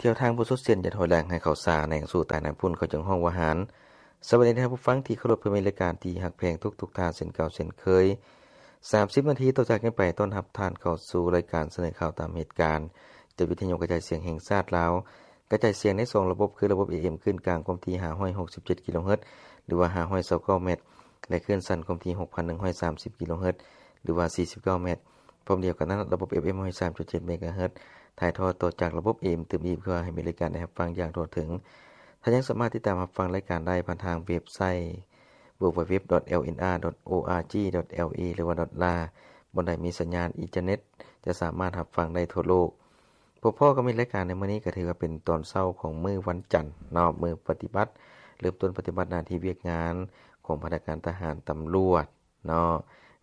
ກ່ຽວທາງບໍ່ສຸດເຊັ່ນ ຢ່າຖອຍຫຼັງ ໃຫ້ເຂົ້າຊ້າ ແລ່ນສູ້ຕາຍນຳພຸ້ນ ເຂົາຈຶ່ງຮ້ອງວ່າຫານ. ສະບາຍດີທ່ານຜູ້ຟັງທີ່ເຄົາລົບ ເພື່ອມີລາຍການທີ່ຮັກແພງທຸກໆທ່ານເຊັ່ນເກົ່າເຊັ່ນເຄີຍ. ສາມສິບນາທີຕໍ່ຈາກນີ້ໄປ ຕ້ອນຮັບທ່ານເຂົ້າສູ່ລາຍການສະເໜີຂ່າວຕາມເຫດການ ຈາກວິທະຍຸກະຈາຍສຽງແຫ່ງຊາດລາວ. ກະຈາຍສຽງໃນສອງລະບົບ ຄືລະບົບ ເອເອັມ ຄື້ນກາງຄວາມຖີ່ ຫ້າຮ້ອຍຫົກສິບເຈັດກິໂລເຮີດ ຫຼືວ່າ ຫ້າຮ້ອຍຊາວເກົ້າແມັດ ແລະ ຄື້ນສັ້ນຄວາມຖີ່ ຫົກພັນໜຶ່ງຮ້ອຍສາມສິບກິໂລເຮີດ ຫຼືວ່າ ສີ່ສິບເກົ້າແມັດ. ພ້ອມດຽວກັນນັ້ນ ລະບົບ ເອັຟເອັມ ຮ້ອຍສາມຈຸດເຈັດເມກາເຮີດ ຖ່າຍທອດຕໍ່ຈາກລະບົບ ເອເອັມ ຕື່ມອີກ ເພື່ອໃຫ້ມີລາຍການໄດ້ຮັບຟັງຢ່າງທົ່ວເຖິງ. ທ່ານຍັງສາມາດຕິດຕາມຮັບຟັງລາຍການໄດ້ຜ່ານທາງເວັບໄຊ ดัບເບິນຢູດັບເບິນຢູດັບເບິນຢູ ດອດ ໂອອາຈີ ດອດ ແອລເອ ຫຼືວ່າ ດອດ ລາ ບ່ອນໃດມີສັນຍານອິນເຕີເນັດ ຈະສາມາດຮັບຟັງໄດ້ທົ່ວໂລກ. ພົບພໍ້ກັບມີລາຍການໃນມື້ນີ້ ກໍຖືວ່າເປັນຕອນເຊົ້າຂອງມື້ວັນຈັນເນາະ, ມື້ປະຕິບັດ ເລີ່ມຕົ້ນປະຕິບັດໜ້າທີ່ວຽກງານຂອງພະນັກງານທະຫານຕຳຫຼວດເນາະ.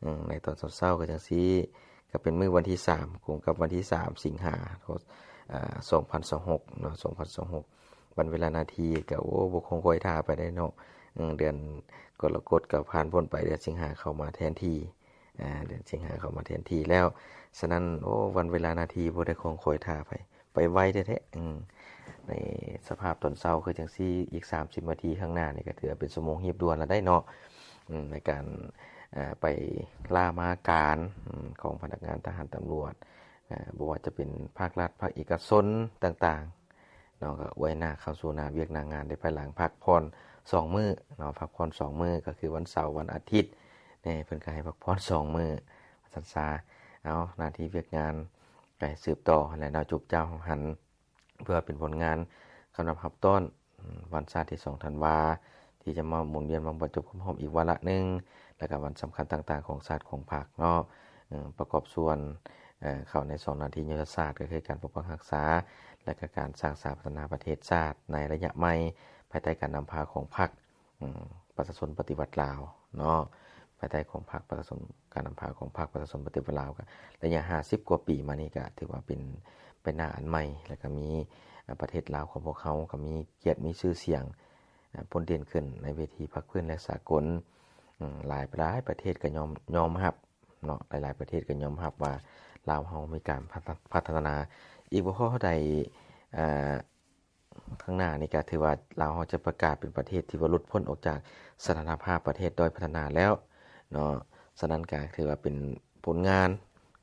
ອືມ ໃນຕອນເຊົ້າໆ ກໍຈັ່ງຊີ້ ກໍເປັນມື້ວັນທີສາມ ກົງກັບວັນທີສາມ ສິງຫາ ອາ ສອງພັນຊາວຫົກເນາະ, ສອງພັນຊາວຫົກ. ວັນເວລານາທີກໍ ໂອ້ ບໍ່ຄອງຄອຍຖ້າປານໃດເນາະ. ເອີ ເດືອນກໍລະກົດກໍຜ່ານພົ້ນໄປ, ເດືອນສິງຫາເຂົ້າມາແທນທີ່. ອາ ເດືອນສິງຫາເຂົ້າມາແທນທີ່ແລ້ວ. ສະນັ້ນ ໂອ້ ວັນເວລານາທີບໍ່ໄດ້ຄອງຄອຍຖ້າໃຜ, ໄປໄວແທ້ໆ. ອືມ ໃນສະພາບຕອນເຊົ້າຄືຈັ່ງຊີ້ ອີກສາມສິບນາທີຂ້າງໜ້ານີ້ ກໍຖືວ່າເປັນຊົ່ວໂມງຮີບດ່ວນແລ້ວໄດ໋ເນາະ. ອືມ ໃນການ ອາ ໄປລາມາການ ອືມ ຂອງພະນັກງານທະຫານຕຳຫຼວດ ອາ ບໍ່ວ່າຈະເປັນພາກລັດ ພາກເອກະຊົນຕ່າງໆ ເນາະ, ກໍອວຍໜ້າເຂົ້າສູ່ໜ້າວຽກໜ້າງານ ໄດ້ພາຍຫຼັງພັກຜ່ອນສອງມື້ເນາະ, ພັກຜ່ອນສອງມື້ ກໍຄືວັນເສົາ ວັນອາທິດແນ່, ເພິ່ນກໍໃຫ້ພັກຜ່ອນສອງມື້ ວ່າຊັ້ນຊະ. ເອົາ ໜ້າທີ່ວຽກງານກໍໃຫ້ສືບຕໍ່ຫັ້ນແຫຼະເນາະ, ຈູບຈ້າວຫັນ ເພື່ອເປັນຜົນງານຄຳນັບຮັບຕ້ອນ ອືມ ວັນຊາດທີສອງທັນວາ ທີ່ຈະມາໝູນວຽນມາບັນຈົບຄົບຮອບອີກວາລະໜຶ່ງ ແລະ ກະວັນສຳຄັນຕ່າງໆຂອງຊາດຂອງພັກເນາະ. ເອີ ປະກອບສ່ວນ ເອີ ເຂົ້າໃນສອງໜ້າທີ່ຍຸດທະສາດ ກໍຄືການປົກປັກຮັກສາ ແລະ ກະການສ້າງສາພັດທະນາປະເທດຊາດໃນໄລຍະໃໝ່ ພາຍໃຕ້ການນຳພາຂອງພັກ ອືມ ປະຊາຊົນປະຕິວັດລາວເນາະ, ພາຍໃຕ້ຂອງພັກປະຊາຊົນ ການນຳພາຂອງພັກປະຊາຊົນປະຕິວັດລາວ ກະໄລຍະຫ້າສິບກວ່າປີມານີ້ ກະຖືວ່າເປັນ ເປັນໜ້າອັນໃໝ່ ແລະ ກະມີ ອາ ປະເທດລາວຂອງພວກເຮົາ ກະມີກຽດມີຊື່ສຽງ ອາ ໂດດເດັ່ນຂຶ້ນໃນເວທີພາກພື້ນ ແລະ ສາກົນ. ອືມ ຫຼາຍ ຫຼາຍປະເທດກໍຍອມ ຍອມຮັບເນາະ, ຫຼາຍໆປະເທດກໍຍອມຮັບວ່າລາວເຮົາມີການພັດທະ ພັດທະນາ. ອີກບໍ່ພໍເທົ່າໃດ ອາ ຂ້າງໜ້ານີ້ກໍຖືວ່າລາວເຮົາຈະປະກາດເປັນປະເທດທີ່ວ່າຫຼຸດພົ້ນອອກຈາກສະຖານະພາບປະເທດດ້ອຍພັດທະນາແລ້ວເນາະ. ສະນັ້ນກໍຖືວ່າເປັນຜົນງານ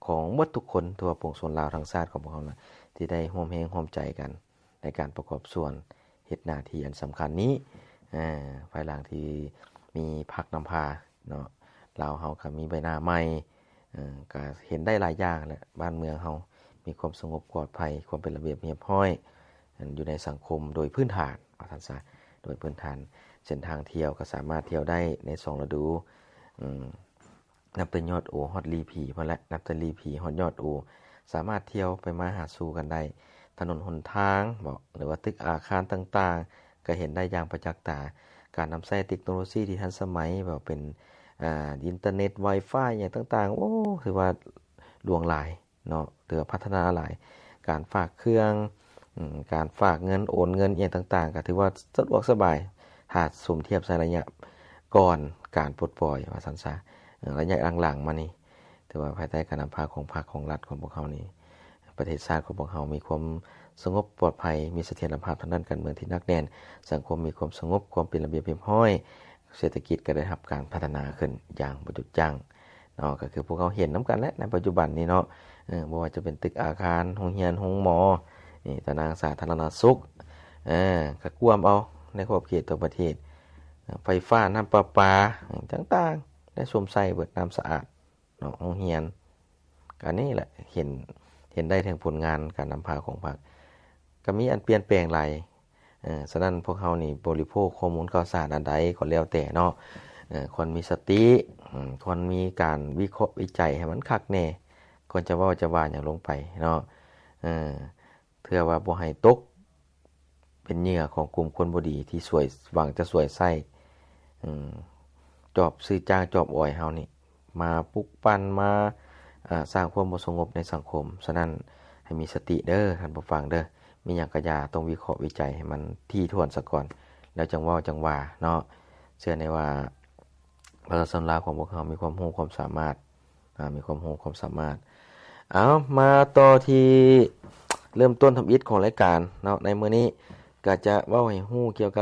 ຂອງໝົດທຸກຄົນ ທົ່ວປວງຊົນລາວທັງຊາດຂອງພວກເຮົານະ ທີ່ໄດ້ຮ່ວມແຮງຮ່ວມໃຈກັນໃນການປະກອບສ່ວນເຮັດໜ້າທີ່ອັນສຳຄັນນີ້. ອາ ພາຍຫຼັງທີ່ມີພັກນຳພາເນາະ, ລາວເຮົາກໍມີໃບໜ້າໃໝ່ ເອີ ກໍເຫັນໄດ້ຫຼາຍຢ່າງແຫຼະ, ບ້ານເມືອງເຮົາມີຄວາມສະຫງົບປອດໄພ, ຄວາມເປັນລະບຽບຮຽບຮ້ອຍ ຢູ່ໃນສັງຄົມໂດຍພື້ນຖານ ວ່າຊັ້ນຊະ, ໂດຍພື້ນຖານ. ເສັ້ນທາງທ່ຽວກໍສາມາດທ່ຽວໄດ້ໃນສອງລະດູ, ອືມ ນັບແຕ່ຍອດໂອຮອດລີຜີພຸ້ນແຫຼະ, ນັບແຕ່ລີຜີຮອດຍອດໂອ ສາມາດທ່ຽວໄປມາຫາສູ່ກັນໄດ້. ຖະໜົນຫົນທາງເບາະ ຫຼືວ່າຕຶກອາຄານຕ່າງໆ ກໍເຫັນໄດ້ຢ່າງປະຈັກຕາ. ການນຳໃຊ້ເຕັກໂນໂລຊີທີ່ທັນສະໄໝ ບໍ່ວ່າເປັນ ອາ ອິນເຕີເນັດ ວາຍຟາຍ ຫຍັງຕ່າງໆ ໂອ້ ຖືວ່າຫຼວງຫຼາຍເນາະ, ຖືວ່າພັດທະນາຫຼາຍ. ການຝາກເຄື່ອງ ອືມ ການຝາກເງິນ ໂອນເງິນ ອີ່ຫຍັງຕ່າງໆ ກໍຖືວ່າສະດວກສະບາຍ ຖ້າສົມທຽບໃສ່ໄລຍະກ່ອນການປົດປ່ອຍ ວ່າຊັ້ນຊະ. ເອີ ໄລຍະຫຼັງໆມານີ້ ຖືວ່າພາຍໃຕ້ການນຳພາຂອງພັກຂອງລັດຂອງພວກເຮົານີ້ ປະເທດຊາດຂອງພວກເຮົາມີຄວາມສະຫງົບປອດໄພ, ມີສະຖຽນລະພາບທາງດ້ານການເມືອງທີ່ໜັກແໜ້ນ, ສັງຄົມມີຄວາມສະຫງົບ, ຄວາມເປັນລະບຽບຮຽບຮ້ອຍ, ເສດຖະກິດກໍໄດ້ຮັບການພັດທະນາຂຶ້ນຢ່າງບໍ່ຢຸດຢັ້ງເນາະ. ກໍຄືພວກເຮົາເຫັນນຳກັນແຫຼະ ໃນປັດຈຸບັນນີ້ເນາະ, ເອີ ບໍ່ວ່າຈະເປັນຕຶກອາຄານ, ໂຮງຮຽນ, ໂຮງໝໍ, ນີ້ ຕາໜ່າງສາທາລະນະສຸກ, ເອີ ກໍກວມເອົາໃນຂອບເຂດທົ່ວປະເທດ, ເອີ ໄຟຟ້າ, ນ້ຳປະປາ, ຫຍັງຕ່າງໆ ໄດ້ຊົມໃຊ້ເບິດ, ນ້ຳສະອາດ ເນາະ, ໂຮງຮຽນ. ກະນີ້ແຫຼະ ເຫັນ ເຫັນໄດ້ເຖິງຜົນງານການນຳພາຂອງພັກ ກະມີອັນປ່ຽນແປງຫຼາຍ. ເອີ ສະນັ້ນພວກເຮົານີ້ບໍລິໂພກຂໍ້ມູນຂ່າວສານອັນໃດກໍແລ້ວແຕ່ເນາະ, ເອີ ຄວນມີສະຕິ, ອືມ ຄວນມີການວິເຄາະວິໄຈໃຫ້ມັນຄັກແນ່ ກ່ອນຈະເວົ້າຈະວ່າຫຍັງລົງໄປເນາະ. ເອີ ເພື່ອວ່າບໍ່ໃຫ້ຕົກເປັນເຫຍື່ອຂອງກຸ່ມຄົນບໍ່ດີທີ່ສວຍ ຫວັງຈະສວຍໃຊ້ ອືມ ຈອບຊື້ຈ້າງຈອບອອຍເຮົານີ້ ມາປຸກປັ່ນ ມາ ເອີ ສ້າງຄວາມບໍ່ສະຫງົບໃນສັງຄົມ. ສະນັ້ນໃຫ້ມີສະຕິເດີທ່ານຜູ້ຟັງເດີ, ມີຫຍັງກະຢ່າ ຕ້ອງວິເຄາະວິໄຈໃຫ້ມັນຖີ່ຖ້ວນສາກ່ອນ ແລ້ວຈັ່ງເວົ້າຈັ່ງວ່າເນາະ. ເຊື່ອແນ່ວ່າ ປະຊາຊົນລາວຂອງພວກເຮົາມີຄວາມຮູ້ຄວາມສາມາດ ອາ ມີຄວາມຮູ້ຄວາມສາມາດ. ເອົາ ມາຕໍ່ທີ່ ເລີ່ມຕົ້ນທຳອິດຂອງລາຍການເນາະ ໃນມື້ນີ້ກໍຈະເວົ້າໃຫ້ຮູ້ກ່ຽວກັບ